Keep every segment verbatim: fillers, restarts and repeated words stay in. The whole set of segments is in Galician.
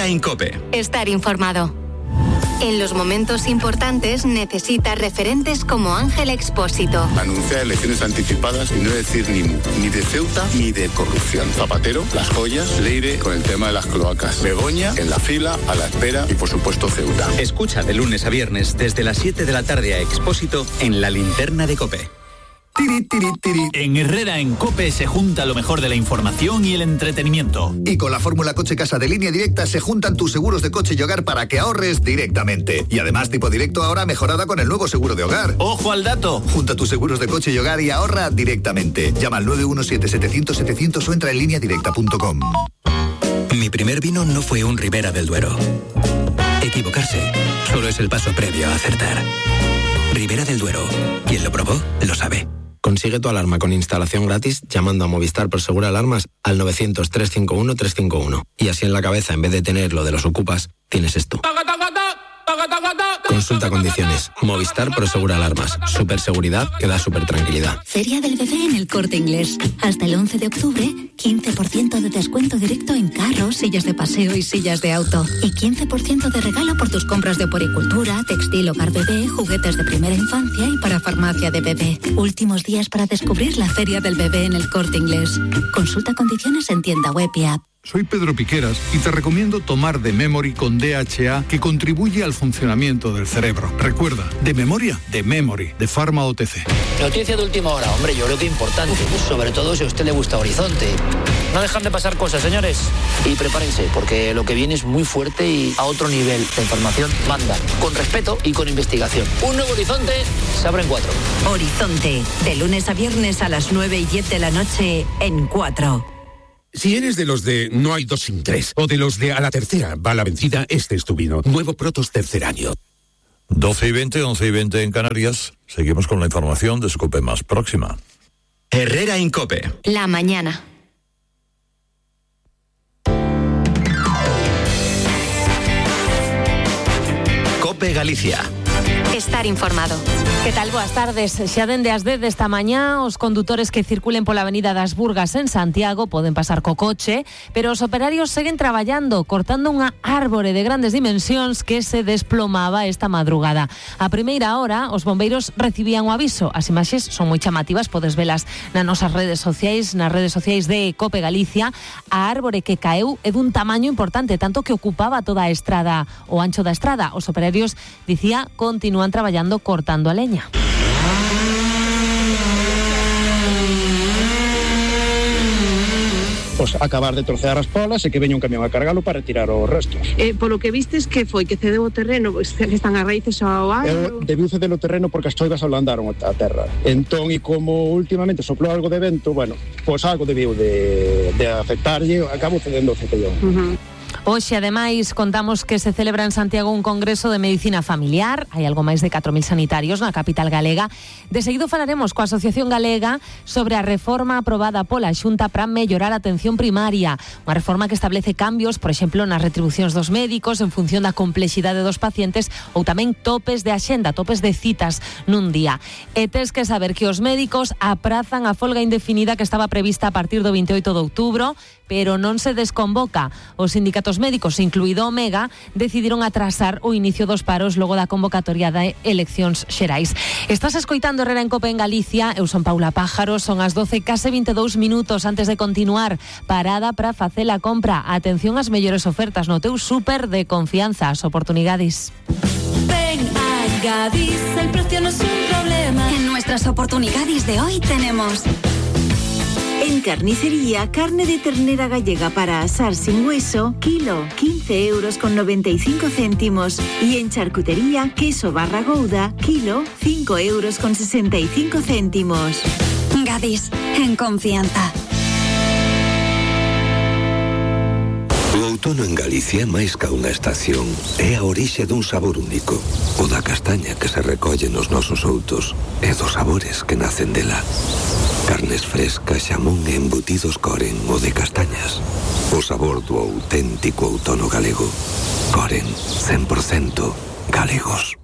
Herrera en COPE. Estar informado. En los momentos importantes necesitas referentes como Ángel Expósito. Anunciar elecciones anticipadas y no decir ni mu, ni de Ceuta ni de corrupción. Zapatero, las joyas, Leire con el tema de las cloacas. Begoña en la fila, a la espera y por supuesto Ceuta. Escucha de lunes a viernes desde las siete de la tarde a Expósito en la linterna de COPE. Tiri, tiri, tiri. En Herrera en COPE se junta lo mejor de la información y el entretenimiento. Y con la fórmula Coche Casa de Línea Directa se juntan tus seguros de coche y hogar para que ahorres directamente. Y además tipo directo ahora mejorada con el nuevo seguro de hogar. ¡Ojo al dato! Junta tus seguros de coche y hogar y ahorra directamente. Llama al nueve uno siete, setecientos, setecientos o entra en línea directa punto com. Mi primer vino no fue un Ribera del Duero. Equivocarse solo es el paso previo a acertar. Ribera del Duero. Quien lo probó, lo sabe. Consigue tu alarma con instalación gratis llamando a Movistar Prosegur Alarmas al novecientos, trescientos cincuenta y uno, trescientos cincuenta y uno. Y así en la cabeza, en vez de tener lo de los ocupas, tienes esto. Consulta condiciones. Movistar Prosegur Alarmas. Superseguridad que da super tranquilidad. Feria del Bebé en El Corte Inglés. Hasta el once de octubre, quince por ciento de descuento directo en carros, sillas de paseo y sillas de auto. Y quince por ciento de regalo por tus compras de poricultura, textil, hogar bebé, juguetes de primera infancia y para farmacia de bebé. Últimos días para descubrir la Feria del Bebé en El Corte Inglés. Consulta condiciones en tienda web y app. Soy Pedro Piqueras y te recomiendo tomar The Memory con D H A, que contribuye al funcionamiento del cerebro. Recuerda, de memoria, de Memory, de Pharma O T C. Noticia de última hora, hombre, yo creo que importante, sobre todo si a usted le gusta Horizonte. No dejan de pasar cosas, señores. Y prepárense, porque lo que viene es muy fuerte y a otro nivel. La información manda, con respeto y con investigación. Un nuevo Horizonte se abre en cuatro. Horizonte, de lunes a viernes a las nueve y diez de la noche en cuatro. Si eres de los de no hay dos sin tres, o de los de a la tercera va la vencida, este es tu vino. Nuevo Protos tercer año. doce y veinte, once y veinte en Canarias. Seguimos con la información de su COPE más próxima. Herrera en COPE. La mañana. COPE Galicia. Estar informado. Que tal? Boas tardes. Xa dende as dez desta mañá, os condutores que circulen pola avenida das Burgas en Santiago poden pasar co coche, pero os operarios seguen traballando, cortando unha árbore de grandes dimensións que se desplomaba esta madrugada. A primeira hora, os bombeiros recibían o aviso. As imaxes son moi chamativas, podes velas nas nosas redes sociais, nas redes sociais de COPE Galicia. A árbore que caeu é dun tamaño importante, tanto que ocupaba toda a estrada, o ancho da estrada. Os operarios, dicía, continúan traballando cortando a leña. Pois acabar de trocear as polas e que veña un camión a cargalo para retirar os restos. Eh, polo que vistes, que foi? Que cedeu o terreno? Que están as raíces ao ar? Eh, debiu ceder o terreno porque as choivas ablandaron a terra. Entón, e como últimamente soplou algo de vento, bueno, pois algo debiu de, de afectarlle, acabo cedendo o cetellón. Uh-huh. Hoxe, ademais, contamos que se celebra en Santiago un congreso de medicina familiar. Hai algo máis de catro mil sanitarios na capital galega. De seguido falaremos coa Asociación Galega sobre a reforma aprobada pola Xunta para mellorar a atención primaria. Unha reforma que establece cambios, por exemplo, nas retribucións dos médicos en función da complexidade dos pacientes ou tamén topes de axenda, topes de citas nun día. E tes que saber que os médicos aprazan a folga indefinida que estaba prevista a partir do veintioito de outubro, pero non se desconvoca. Os sindicatos médicos, incluído Omega, decidiron atrasar o inicio dos paros logo da convocatoria de eleccións xerais. Estás escoitando Herrera en COPE en Galicia. Eu son Paula Pájaro, son as doce case vinte e dous minutos. Antes de continuar, parada para facer a compra. Atención ás mellores ofertas no teu súper de confianza, as oportunidades. Ven a Gadis, el precio no es un problema. En nuestras oportunidades de hoy tenemos... En carnicería, carne de ternera gallega para asar sin hueso, kilo, quince euros con noventa y cinco céntimos. Y en charcutería, queso barra gouda, kilo, cinco euros con sesenta y cinco céntimos. Gadis, en confianza. O outono en Galicia, máis ca unha estación, é a orixe dun sabor único. O da castaña que se recolle nos nosos outos e dos sabores que nacen dela. Carnes frescas, xamón e embutidos Coren, o de castañas. O sabor do auténtico outono galego. Coren, cen por cento galegos.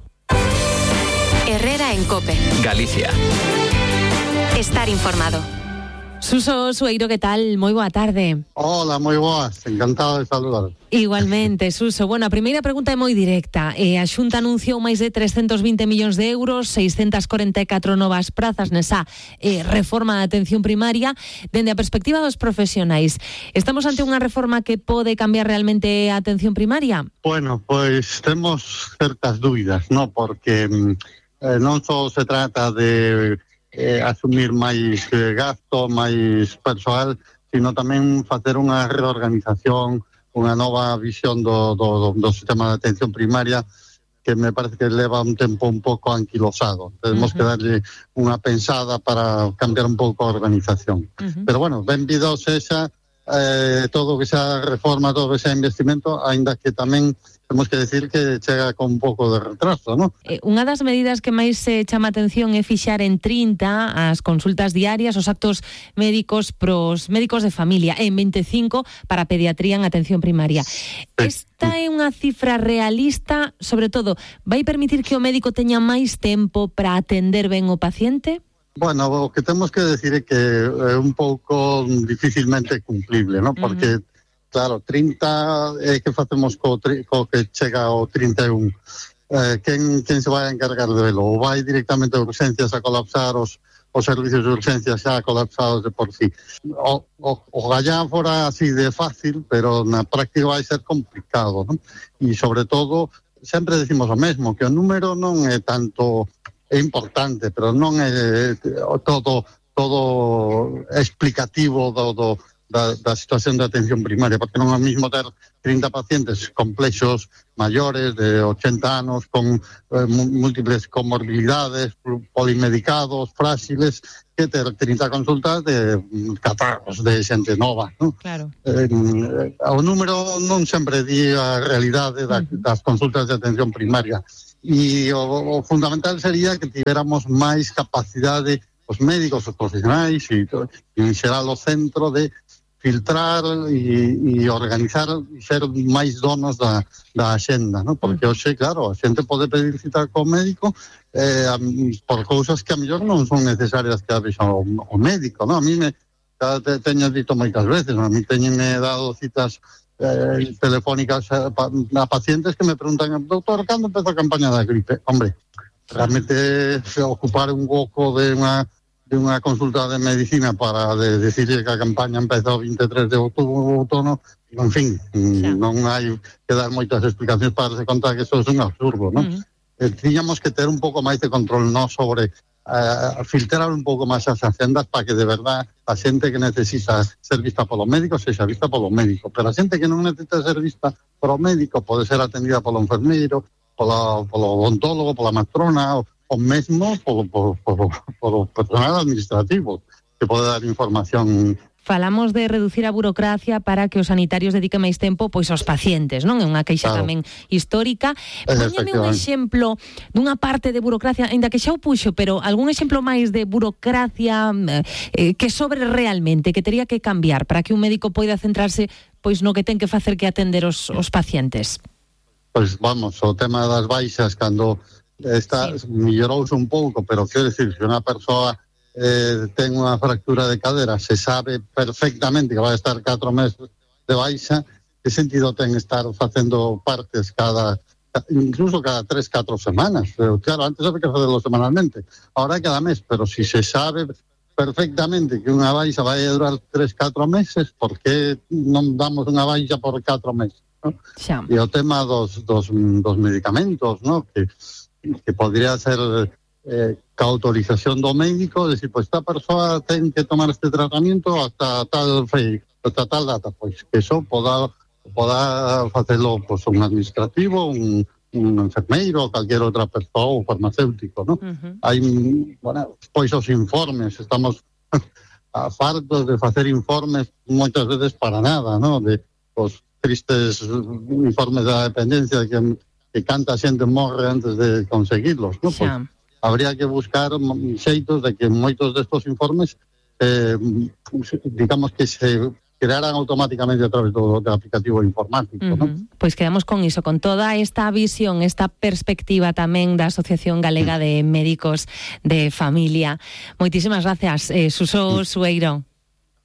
Herrera en COPE. Galicia. Estar informado. Suso Sueiro, que tal? Moi boa tarde. Hola, moi boas, encantado de saludar. Igualmente, Suso. Bueno, a primeira pregunta é moi directa. Eh, a Xunta anunciou máis de trescentos vinte millóns de euros, seiscentas corenta e catro novas prazas nesa eh, reforma da atención primaria. Dende a perspectiva dos profesionais, estamos ante unha reforma que pode cambiar realmente a atención primaria? Bueno, pois temos certas dúbidas, ¿no? Porque eh, non só se trata de eh, asumir máis eh, gasto, máis persoal, sino tamén facer unha reorganización, unha nova visión do, do, do sistema de atención primaria que me parece que leva un tempo un pouco anquilosado. Tenemos uh-huh. que darle unha pensada para cambiar un pouco a organización. Uh-huh. Pero bueno, benvido sexa eh, todo que sea reforma, todo que sea investimento, aínda que tamén temos que decir que chega con un pouco de retraso, ¿no? Eh, unha das medidas que máis se eh, chama atención é fixar en trinta as consultas diarias, os actos médicos pros médicos de familia, e en veinticinco para pediatría en atención primaria. Sí. Esta é unha cifra realista, sobre todo, vai permitir que o médico teña máis tempo para atender ben o paciente? Bueno, o que temos que decir é que é un pouco dificilmente cumplible, ¿no? Porque uh-huh. Claro, trinta é eh, que facemos co, co que chega ao trinta e un. Eh, quen, quen se vai a encargar de velo? Ou vai directamente a urgencias a colapsar os, os servicios de urgencias xa colapsados de por sí. O, o, o gallá fora así de fácil, pero na práctica vai ser complicado, ¿no? E sobre todo, sempre decimos o mesmo, que o número non é tanto, é importante, pero non é todo, todo explicativo do, do Da, da situación de atención primaria, porque non é o mismo ter trinta pacientes complexos, maiores, de ochenta anos, con eh, múltiples comorbilidades, polimedicados, frágiles, que ter trinta consultas de catarros, de xente nova, ¿no? Claro. Eh, o número non sempre di a realidade da, das consultas de atención primaria. E o, o fundamental sería que tivéramos máis capacidade os médicos, os profesionais e, e en xeral o centro de filtrar e, e organizar e ser máis donos da, da axenda, ¿no? Porque hoxe, claro, a xente pode pedir cita co médico eh, por cousas que a mellor non son necesarias que a vexa o, o médico, ¿no? A mí me te, teño dito moitas veces, ¿no? A mí teñenme dado citas eh, telefónicas a, a pacientes que me preguntan, doctor, cando empeza a campaña da gripe? Hombre, realmente ocupar un hueco de unha de unha consulta de medicina para de, decirle que a campaña empeza o vinte e tres de outono, en fin, sí. Non hai que dar moitas explicacións para se contar que eso é un absurdo, non? Uh-huh. Eh, tiñamos que ter un pouco máis de control, non sobre eh, filtrar un pouco máis as agendas para que de verdad a xente que necesita ser vista polo médico sexa vista polo médico, pero a xente que non necesita ser vista polo médico pode ser atendida polo enfermeiro, polo, polo odontólogo, pola matrona, o o mesmo polo, polo, polo, polo personal administrativo que pode dar información. Falamos de reducir a burocracia para que os sanitarios dediquen máis tempo pois aos pacientes, non? É unha queixa claro. Tamén histórica. Póñeme un exemplo dunha parte de burocracia, ainda que xa o puxo, pero algún exemplo máis de burocracia eh, que sobre realmente, que tería que cambiar para que un médico poida centrarse pois no que ten que facer que atender os, os pacientes. Pois vamos, o tema das baixas, cando está sí. mellorouse un pouco, pero quero decir, se unha persoa eh, ten unha fractura de cadera, se sabe perfectamente que vai estar catro meses de baixa, que sentido ten estar facendo partes cada, incluso cada tres, catro semanas? Pero, claro, antes había que facerlo semanalmente, ahora cada mes, pero si se sabe perfectamente que unha baixa vai a durar tres, catro meses, por que non damos unha baixa por catro meses? ¿No? Xa. E o tema dos, dos, dos medicamentos, ¿no? Que que podría ser eh, ca autorización do médico, decir, pois esta persoa ten que tomar este tratamiento hasta tal fe, hasta tal data, pois que eso poda, poda facelo pois, un administrativo, un, un enfermeiro, calquer outra persoa, ou farmacéutico, ¿no? Uh-huh. Hai, bueno, pois os informes, estamos a fartos de facer informes moitas veces para nada, ¿no? De os tristes informes da dependencia que que canta xente morre antes de conseguirlos, ¿no? Pues habría que buscar xeitos de que moitos destos informes eh, digamos que se crearan automáticamente a través do, do aplicativo informático, uh-huh. ¿no? Pois quedamos con iso, con toda esta visión, esta perspectiva tamén da Asociación Galega de Médicos de Familia. Moitísimas gracias, eh, Suso Sueiro.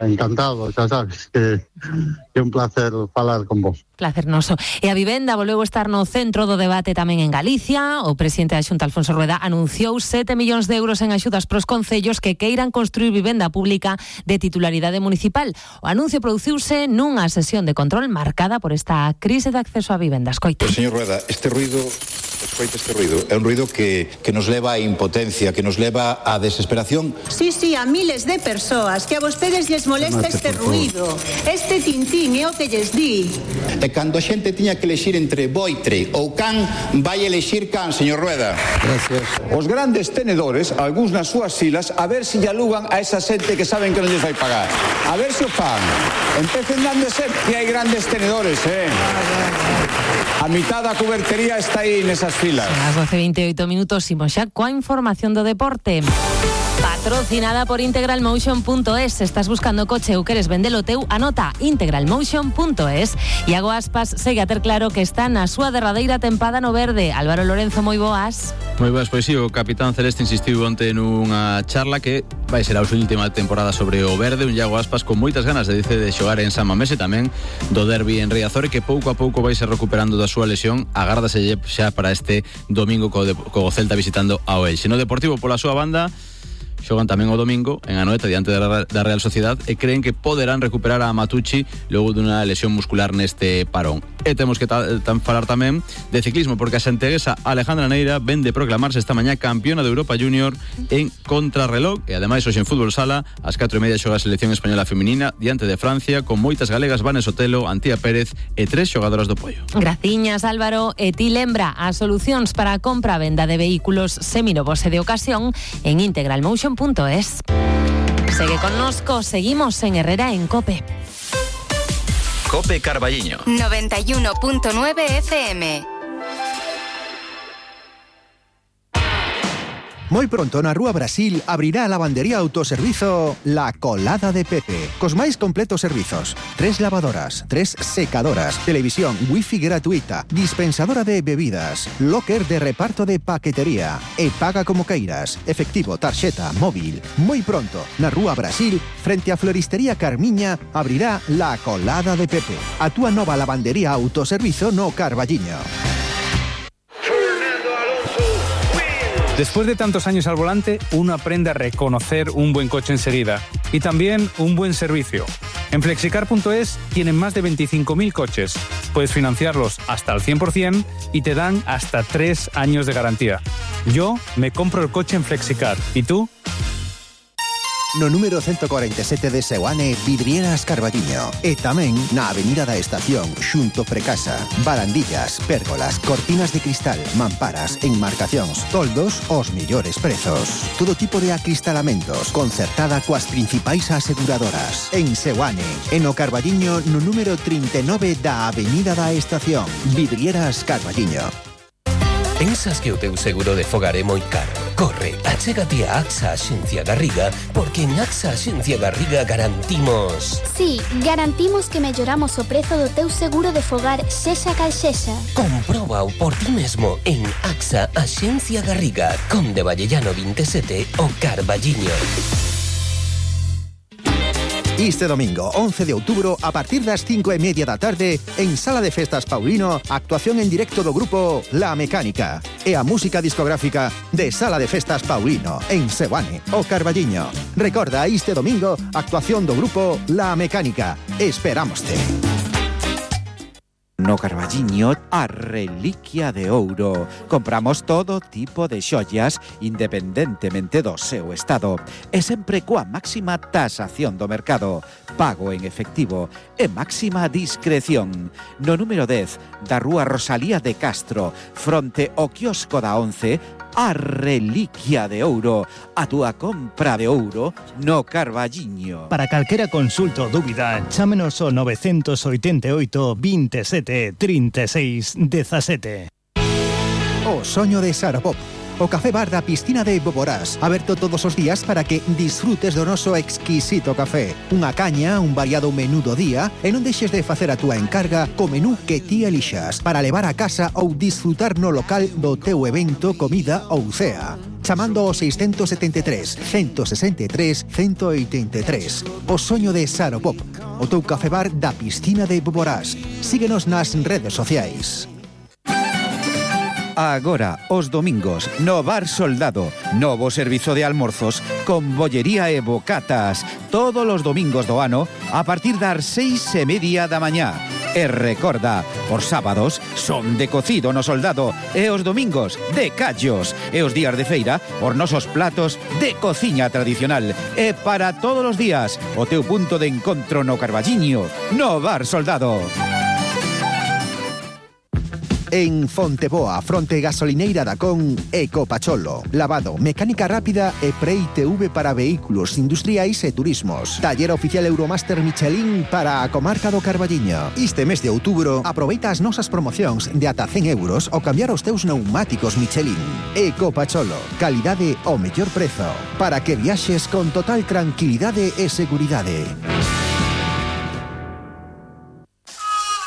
encantado, xa sabes que é un placer falar con vos. Placer noso. E a vivenda volveu estar no centro do debate tamén en Galicia. O presidente da Xunta, Alfonso Rueda, anunciou sete millóns de euros en axudas pros concellos que queiran construir vivenda pública de titularidade municipal. O anuncio produciuse nunha sesión de control marcada por esta crise de acceso a vivenda. Escoita. Pues, señor Rueda, este ruido... Escoita este ruido. É un ruido que, que nos leva a impotencia, que nos leva a desesperación. Sí, sí, a miles de persoas que a vostedes lles molesta este ruido. Este tintín é o que lles di. E cando a xente tiña que elexir entre boitre ou can, vai elexir can, señor Rueda. Gracias. Os grandes tenedores, algúns nas súas silas, a ver se lle alugan a esa xente que saben que non lles vai pagar. A ver se o fan. Empecen dándose que hai grandes tenedores, eh? A mitad da cubertería está aí nesas filas. As doce e vinte e oito minutos, imos xa coa información do deporte. Patrocinada por integralmotion punto es. Estás buscando coche ou queres vendelo teu, anota integralmotion punto es. Iago Aspas segue a ter claro que está na súa derradeira tempada no verde. Álvaro Lorenzo, moi boas. Moi boas, pois si, o capitán celeste insistiu onte nunha charla que vai ser a súa última temporada sobre o verde. Un Iago Aspas con moitas ganas de dice de xogar en San Mamés e tamén do derbi en Riazor, que pouco a pouco vai ser recuperando da súa lesión. Agárdase xa para este domingo co, de, co Celta visitando ao Elxe. No Deportivo, pola súa banda, xogan tamén o domingo en Anoeta diante da, da Real Sociedad e creen que poderán recuperar a Matucci logo dunha lesión muscular neste parón. E temos que ta, tan, falar tamén de ciclismo, porque a santeguesa Alejandra Neira ven de proclamarse esta mañá campeona de Europa Junior en contrarreloj, e ademais hoxe en fútbol sala ás catro e media xoga a selección española feminina diante de Francia con moitas galegas, Vane Sotelo, Antía Pérez e tres xogadoras do Pollo. Graciñas, Álvaro. E ti lembra as solucións para a compra e venda de vehículos seminovos e de ocasión en integralmotion punto es. Segue connosco, seguimos en Herrera en COPE. COPE Carballiño noventa y uno punto nueve F M. Moi pronto na Rúa Brasil abrirá a lavandería autoservizo La Colada de Pepe, cos máis completos servizos. Tres lavadoras, tres secadoras, televisión, wifi gratuita, dispensadora de bebidas, locker de reparto de paquetería e paga como queiras, efectivo, tarxeta, móvil. Moi pronto na Rúa Brasil, frente a Floristería Carmiña, abrirá La Colada de Pepe, a túa nova lavandería autoservizo no Carballiño. Después de tantos años al volante, uno aprende a reconocer un buen coche enseguida y también un buen servicio. En flexicar punto es tienen más de veinticinco mil coches. Puedes financiarlos hasta al cien por ciento y te dan hasta tres años de garantía. Yo me compro el coche en Flexicar. ¿Y tú? No número ciento cuarenta y siete de Seoane, Vidrieras Carballiño. E tamén na Avenida da Estación, xunto Precasa. Barandillas, pérgolas, cortinas de cristal, mamparas, enmarcacións, toldos, os mellores prezos. Todo tipo de acristalamentos, concertada coas principais aseguradoras. En Seoane, en o Carballiño, no número trinta e nove da Avenida da Estación. Vidrieras Carballiño. Pensas que o teu seguro de fogar é moi caro? Corre, achégate a AXA Axencia Garriga, porque en AXA Axencia Garriga garantimos... Sí, garantimos que melloramos o prezo do teu seguro de fogar sexa cal sexa. Compróbao por ti mesmo en AXA Axencia Garriga, Conde Vallellano veintisiete, o Carballiño. Este domingo, once de outubro, a partir das cinco e media da tarde, en Sala de Festas Paulino, actuación en directo do grupo La Mecánica e a música discográfica de Sala de Festas Paulino, en Seoane, o Carballiño. Recorda, este domingo, actuación do grupo La Mecánica. Esperámoste. No Carballiño, a Reliquia de Ouro. Compramos todo tipo de xoias independentemente do seu estado e sempre coa máxima tasación do mercado, pago en efectivo e máxima discreción. No número dez da Rúa Rosalía de Castro, fronte ao quiosco da once, a Reliquia de Ouro, a túa compra de ouro no Carballiño. Para calquera consulta ou dúbida, chámenos ao novecientos oitenta e oito, veintisiete, trinta e seis, dezasete. O soño de Sarapop, o café bar da piscina de Boborás, aberto todos os días para que disfrutes do noso exquisito café. Unha caña, un variado menú do día, e non deixes de facer a túa encarga co menú que ti elixas para levar a casa ou disfrutar no local do teu evento, comida ou cea. chamando ao seiscentos setenta e tres, ciento sesenta e tres, ciento oitenta e tres. O soño de Saropop, o teu cafebar da piscina de Boborás. Síguenos nas redes sociais. Agora, os domingos, no Bar Soldado, novo servizo de almorzos con bollería e bocatas, todos os domingos do ano a partir das seis e media da mañá. E recorda, os sábados son de cocido no Soldado e os domingos de callos e os días de feira os nosos platos de cociña tradicional e para todos os días o teu punto de encontro no Carballiño, no Bar Soldado. En Fonteboa, fronte gasolineira da Con, Ecopacholo. Lavado, mecánica rápida e Pre-I T V para vehículos industriais e turismos. Taller oficial Euromaster Michelin para a comarca do Carballiño. Este mes de outubro, aproveita as nosas promocións de ata cen euros ao cambiar os teus neumáticos Michelin. Ecopacholo, calidade ao mellor prezo, para que viaxes con total tranquilidade e seguridade.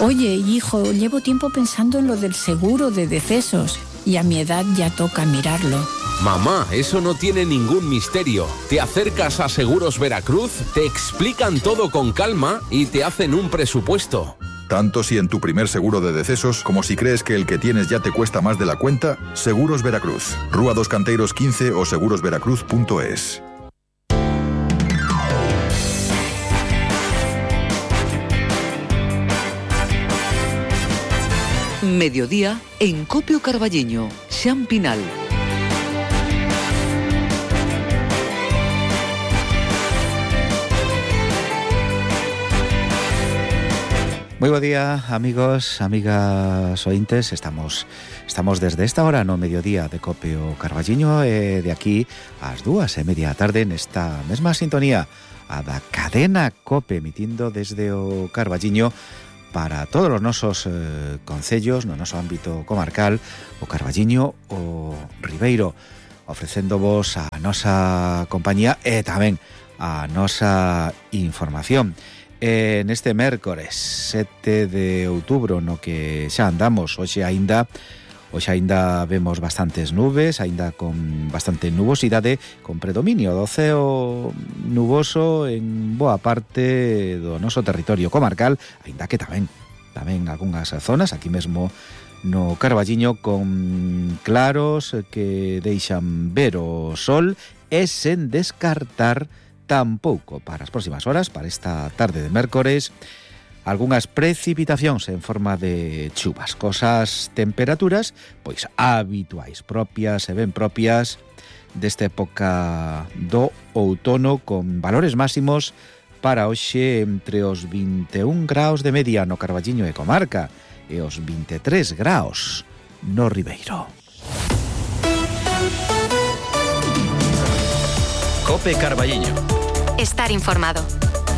Oye, hijo, llevo tiempo pensando en lo del seguro de decesos y a mi edad ya toca mirarlo. Mamá, eso no tiene ningún misterio. Te acercas a Seguros Veracruz, te explican todo con calma y te hacen un presupuesto. Tanto si en tu primer seguro de decesos como si crees que el que tienes ya te cuesta más de la cuenta, Seguros Veracruz. Rúa dos Canteiros quince o seguros veracruz punto es. Mediodía en Copio Carballiño, Xan Pinal. Moi bo día, amigos, amigas ointes. Estamos estamos desde esta hora no mediodía de Copio Carballiño e de aquí ás dúas e media da tarde nesta mesma sintonía a da cadena Cope, emitindo desde o Carballiño para todos os nosos eh, concellos no noso ámbito comarcal, o Carballiño, o Ribeiro, ofrecéndovos a nosa compañía e tamén a nosa información. E neste mércores sete de outubro, no que xa andamos, hoxe aínda Hoxe aínda vemos bastantes nubes, aínda con bastante nubosidade, con predominio do ceo nuboso en boa parte do noso territorio comarcal, aínda que tamén, tamén algunhas zonas, aquí mesmo no Carballiño, con claros que deixan ver o sol e sen descartar tampouco para as próximas horas, para esta tarde de mércores, algunhas precipitacións en forma de chuvas, cosas temperaturas pois habituais, propias e ben propias desta época do outono, con valores máximos para hoxe entre os vinte e un graus de media no Carballiño e comarca e os vinte e tres graus no Ribeiro. Cope Carballiño. Estar informado.